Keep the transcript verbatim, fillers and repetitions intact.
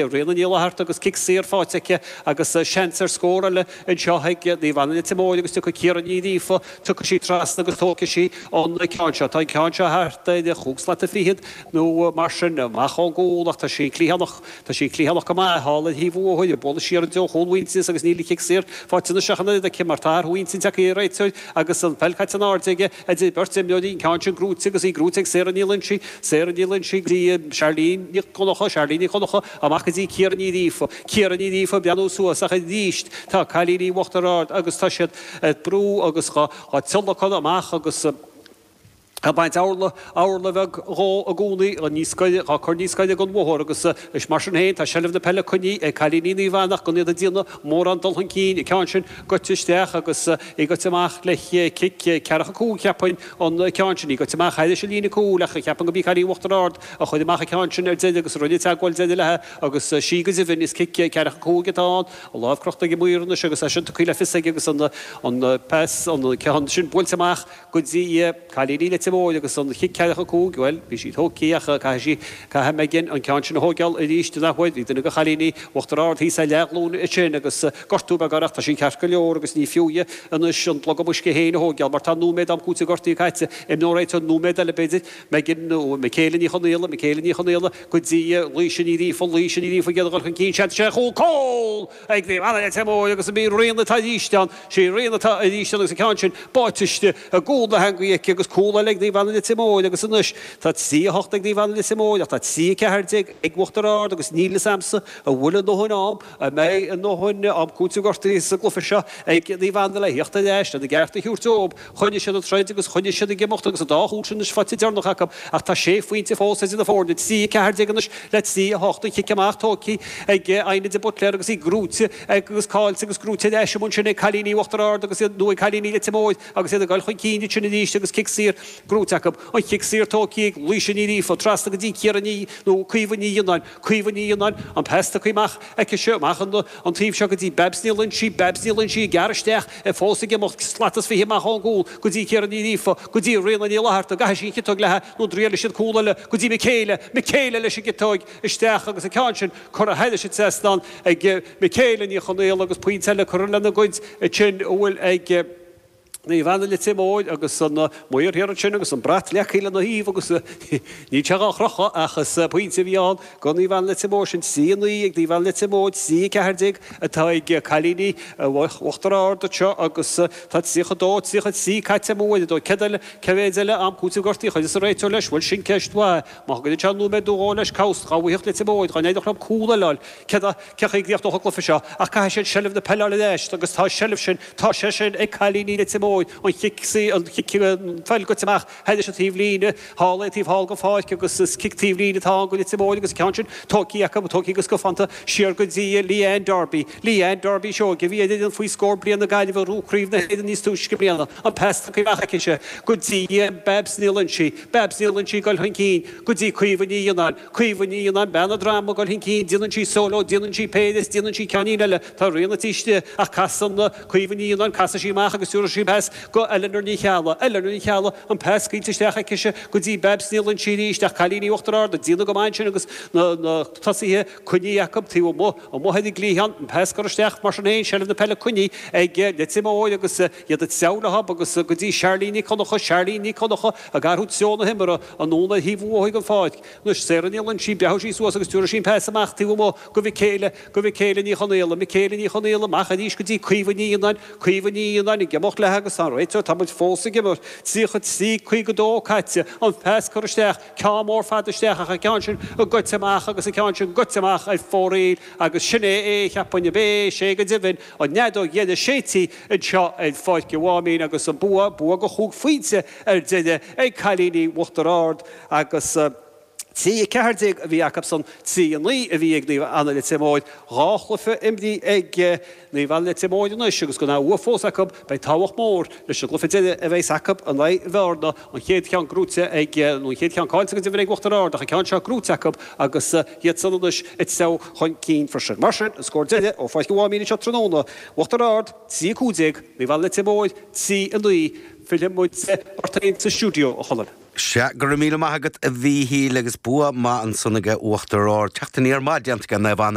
Ríona Ní Fhlatharta agus cic saor faighte aici agus seans ar scór eile anseo ag Naomh Anna Leitir Móir agus tiocfaidh Ciara Ní Ghríofa, tiocfaidh sí trasna agus tógfaidh sí an ceann seo. Tá an ceann seo thart ar chúig slata fichead nó mar sin amach ón gcúl ach tá sí cliathánach, tá sí cliathánach go maith thall ar thaobh an bhóthair, ag bualadh siar i dtreo chúl Mhuintearas agus níl an chic saor faighte anois ach an oiread aici mar tá athrú intinn tagtha ar an réiteoir agus an pheil caite in airde aige idir beirt imreoirí, an ceann sin gnóite agus í gnóite ag Sarah Ní Loinsigh, Sarah Ní Loinsigh go dtí Charlene Nic Dhonncha, Charlene Nic Dhonncha amach go dtí Ciara Ní Ghríofa, Ciara Ní Ghríofa ag breathnú suas ach arís tá cailíní Uachtar Ard agus tá siad ag brú agus dhá dtionlacan amach agus ag baint orla, orla bheag dhó i gcónaí, níos gaire, dhá cur níos gaire don bhóthar agus is mar sin féin tá seilbh na peile coinnithe ag cailíní Naomh Anna ach gan iad ag déanamh mórán dul chun cinn, an ceann sin goite isteach agus í goite amach le cic ceathracha cúig cheapfainn an ceann sin, í goite amach thairis an líne cúil ach cheapfainn go b'í cailín Uachtar Ard a chuir amach an ceann sin ar deireadh agus a rinne teagmháil deiridh léi agus sí go deimhin is cic ceathracha cúig atá ann, a lámh crochta ag an maor anois agus é sin tugtha le fios aige agus an an pas, an ceann sin buailte amach go dtí cailíní Leitir Móir agus an chic ceathracha cúig, bhuel, bhí sí tógtha ach caithfidh sí, caithfidh Megan an ceann sin a thóigeáil arís an athuair. Bhí duine de chailíní Uachtar Ard thíos ar leathghlúin ansin agus gortú beag uirthi ach tá sí ceart go leor agus ní fiú di anois an plug uisce féin a thóigeáil mar tá nóiméad am cúitimh gortaithe caite. Imreoidh an réiteoir nóiméad eile b'fhéidir, Megan nó Michaela Ní Chonaola, Michaela Ní Chonaola go dtí Laoise Ní Ghríofa, Laoise Ní Ghríofa ag iarraidh dul chun cinn, seans sé chúl, cúl! ag Naomh Anna Leitir Móir agus an í Ríona atá arís ann, sí Ríona atá arís ann agus an ceann sin báite istigh i gcúl na heangaí aici agus cúl eile ag Naomh Anna Leitir Móir agus anois tá trí a hocht ag Naomh Anna Leitir Móir ach tá trí a ceathair déag ag Uachtar Ard agus níl fhios a'msa an bhfuil a ndóthain am, an mbeidh a ndóthain am cúitimh gortaithe sa gcluiche seo ag Naomh Anna le thíocht ar ais lena gceart a thabhairt dóibh. Choinnigh siad an troid agus choinnigh siad ag imeacht agus an dá chúl sin anois faighte deireanach acu ach tá sé phointe fós idir na foirne, trí a ceathair déag anois le trí a hocht. An chic amach tógtha ag Áine de Buitléar agus í gnóite agus caillte agus gnóite ar ais amuigh ansin ag cailíní Uachtar Ard agus iad, nó ag cailíní Leitir Móir agus iad ag dul chun cinn ansin arís agus cic saor gnóite acu. An chic saor tógtha ag Laoise Ní Ghríofa trasna go dtí Ciara Ní, nó Caoimhe Ní Fhionnáin. Caoimhe Ní Fhionnáin, an pas tugtha amach aici seo amach an taobh seo go dtí Babs Ní Loinsigh, Babs Ní Loinsigh ag gearradh isteach, fós ag imeacht, slat is fiche amach ón gcúl go dtí Ciara Ní Ghríofa, go dtí Ríona Ní Fhlatharta, an gcaithfidh sí an chiotóg léi nó an dtriailfidh siad cúl eile go dtí Michaela, Michaela leis an gciotóg isteach agus an ceann sin curtha thairis an trasnán ag Michaela Ní Chonaola agus pointe eile curtha lena gcuid ansin a bhfuil ag Naomh Anna Leitir Móir agus an maor thiar ansin agus an brat leagtha lena thaobh agus níl sé dhá chrochadh ach is pointe a bhí ann do Naomh Anna Leitir Móir sin trí a naoi ag Naomh Anna Leitir Móir, trí a ceathair déag atá ag cailíní Uachtar Ard anseo agus tá tríocha dó, tríocha trí caite amú ar dóigh. Céard eile, cé mhéad eile am cúitimh gortaithe a chuirfeas an réiteoir leis? Bhuel sin ceist mhaith. Má thugann sé nóiméad nó dhó leis cabhas dhá bhfaigheadh Leitir Móir, dhá n-éireodh leo cúl eile a fháil. Céard a, cén chaoi a gcríochnódh an cluiche seo? Ach caithfidh siad seilbh na peile a fháil ar ais agus tá an seilbh sin, tá sé sin ag cailíní Leitir Móir, an chic, an chic, an pheil goite amach thairis an taobh líne thall é, taobh thall den pháirc agus is cic taobh líne atá ann go Leitir Móir agus an ceann sin tógtha acu, tógtha go scafánta siar go dtí Leanne Darby. Leanne Darby Seoige a bhí ar fhoireann faoi scór bliana na Gaillimhe a ghnóthaigh Craobh na hÉireann níos túisce i mbliana, an pas tugtha amach aicise go dtí Babs Ní Loinsigh, Babs Ní Loinsigh ag dul chun cinn go dtí Caoimhe Ní Fhionnáin, Caoimhe Ní Fhionnáin, bean an droma ag dul chun cinn, déanann sí solo, déanann sí péire is déanann sí ceainnín eile, tá Ríona taobh istigh ach casann Caoimhe Ní Fhionnáin, casann sí amach agus tabharfaidh sí pas go Eleanor Ní Cheallaigh, Eleanor Ní Cheallaigh, an pas scaoilte isteach aicise go dtí Babs Ní Loinsigh arís ach cailíní Uachtar Ard ag déanamh go maith ansin agus na tosaithe coinnithe acu taobh amuigh, amuigh ar an gcliathán, an pas curtha isteach mar sin féin, seilbh na peile coinnithe ag Leitir Móir agus iad ag treabhadh leo agus go dtí Charlene Nic Dhonncha, Charlene Nic Dhonncha ag athrú treo na himeartha anonn ar thaobh an bhóthair den pháirc. Anois Sarah Ní Loinsigh, breathóidh sí suas agus tabharfaidh sí an pas amach taobh amuigh go Michaela, go Michaela Ní Chonaola, Michaela Ní Chonaola amach arís go dtí Caoimhe Ní Fhionnáin, Caoimhe Ní Fhionnáin ag imeacht léi agus tá an réiteoir, tá muid fós ag imirt, tríocha trí, caoga dó caite, an pas curtha isteach, ceann mór fada isteach ach an ceann sin goite amach agus an ceann sin goite amach ar fóraoil agus sin é é, cheapfainn, ab é, sé go deimhin, an fheadóg dheiridh séidte anseo ar Pháirc an Mháimín agus an bua, bua de chúig phointe ar deireadh ag cailíní Uachtar Ard agus trí a ceathair déag a bhí acusan, trí a naoi a bhí ag Naomh Anna Leitir Móir. Dhá chluiche imrithe ag Naomh Anna Leitir Móir anois agus gan aon bhua fós acu, beidh tábhacht mhór leis an gcluiche deiridh a bheas acu in aghaidh Bhearna, an chéad cheann gnóite ag, nó an chéad cheann caillte go deimhin ag Uachtar Ard ach an ceann seo gnóite acu agus iadsan anois ag treabhadh chun cinn freisin. Mar sin, an scór deiridh ó Pháirc an Mháimín anseo tráthnóna, Uachtar Ard, trí a cúig déag, Naomh Anna Leitir Móir, trí a naoi. Fillfidh muid ort féin sa stiúideo, a Chonaill. Sea go raibh míle maith agat a Mhíchíl agus bua maith ansan ag Uachtar Ard. Teacht aniar maith déanta ag Naomh Anna.